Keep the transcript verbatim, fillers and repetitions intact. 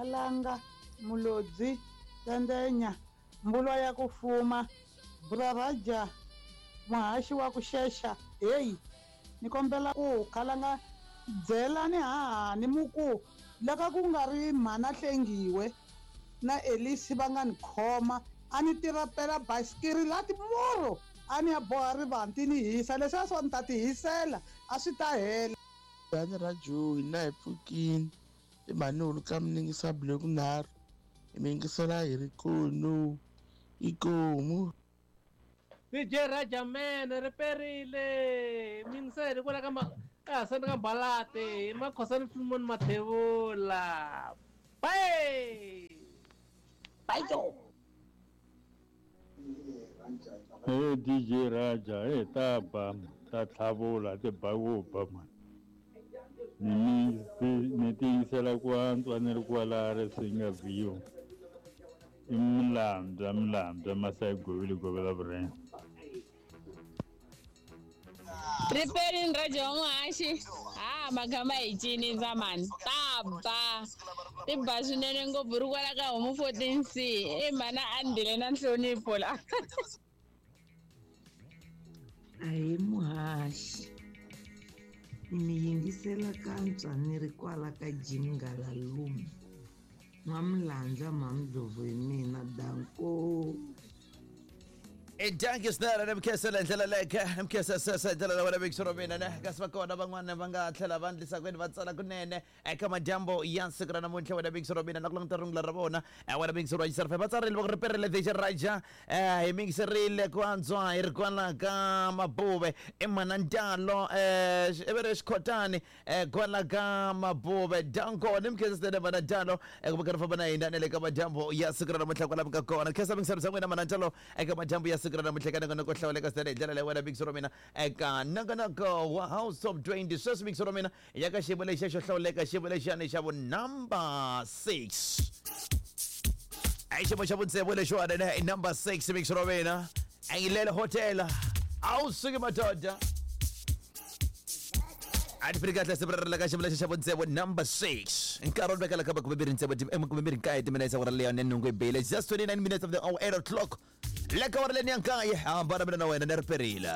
Khalanga, Mulodzi, Tandenya, Mbulwa ya ku fuma, Braraja, muhaxi wa ku xexa, heyi, ni kombela ku Khalanga byelani hahani muku laka ku nga ri mhana Hlengiwe na Elisi va nga ni khoma a ni tirapela basikiri la timurhu a ni ya boha rivanti ni hisa leswiya swo ni ta ti hisela a swi ta hela. Bani ra Joe hina hi pfukini i mhani ka miningisa block nharhu hi mingisela hi ri kono ikomu. D J Raja man ri perile mingisela kwala ka ma ka Hasani ka Mbalate Makhosani Philemon Mathebula. Bye. Bye yo. Hey D J Raja, hey taba ta tlhavula ti ba ku ba man. Ni ni tiyisela ku antswa ni ri kwala Risinga View. I Mlambya, Mlambya Masai Govile Govela Vureng. Riperini Raja wa muhaxi. Ha magama hi cinisa mani. Ta ba. Ti ba swinene ngopfu ri kwala ka homu fourteen C. I mhana Andile na nhlonipho la. Ahee muhaxi. Ni yingisela kantswa ni ri kwala ka Jim Ngalalume. N'wamlandza Mamdlovu hi mina danko. Dankie swinene ni mikhensela hi ndlela leke ni mikhensela ndlela leyi wena vekisoro mina ne kasi va kona van'wana va nga tlhela va ndlisa kwini va tsala kunene eka madyambu ya siku ra namuntlha wena vekisoro mina na ku languta rungula ra vona wena vekisoro wa Xisarfa va tsarile va ku riperile D J Raja hi mingiserile ku antswa hi ri kwala ka Mabuve i Manantalo i ri Xikhotani kwala ka Mabuve danko ni mikhensa swinene Manantalo ku va karhi famba na hina na le ka madyambu ya siku ra namuntlha kwala mi nga kona khensa mingiselo bya n'wina Manantalo eka madyambu ya siku ra namuntlha ka nongonoko hlawuleka swinene hi ndlela leyi wena vekisoro mina eka nongonoko wa House Top twenty sweswi vekisoro mina ya ka xiyimo lexiya xo hlawuleka xiyimo lexiyani xa vu number six i xiyimo xa vutsevu lexiwani ne i number six vekisoro mina Angilele Hotel a wu suki madoda a ti firi kahle siku ra ka xiyimo lexi xa vutsevu number six nkarhi wu vekela ka makume mbirhi ntsevu makume mbirhi nkaye timinetse awara leyo ne nhungu bile just twenty-nine minutes of the hour eight o'clock le ka awara leni ya nkaye hambana mina na wena ni ri perile.